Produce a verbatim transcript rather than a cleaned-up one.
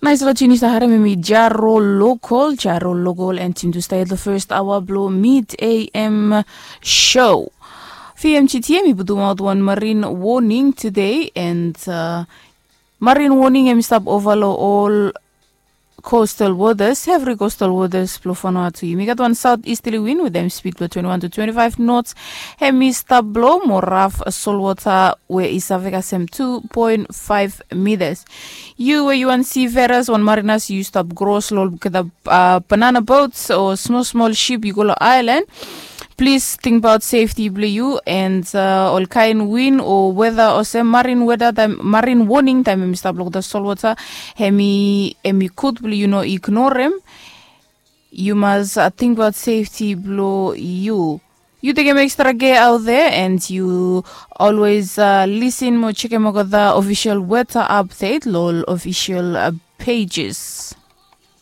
Nais lo tuni sta harem em i Jaro Lokol, Jaro Lokol, and Tindu sta yet lo first hour blo mid A M show. Fi M G T M i putumaot wan marine warning today, and uh, marine warning em i stap ova lo ol coastal waters, every coastal waters blo Vanuatu. Yumi gat wan south easterly wind with em speed blo twenty-one to twenty-five knots. Em i stap blo mo raf solwota we i save kasem two point five meters. Yu we yu wan si veras wan marinas yu stap gros lo olgeta uh, banana boats o smol smol ship yu go lo island. Plis tingbaot safety blo yu and uh, ol kain win o weda olsem marin weda taim marin warning taim em i stap lo olgeta solwota. Em i em i gud blo yu no ignorem. Yu mas uh, tingbaot safety blo yu. Yu tekem extra care out there and yu always uh, listen mo chekem olgeta official weather update lo ol official uh, pages.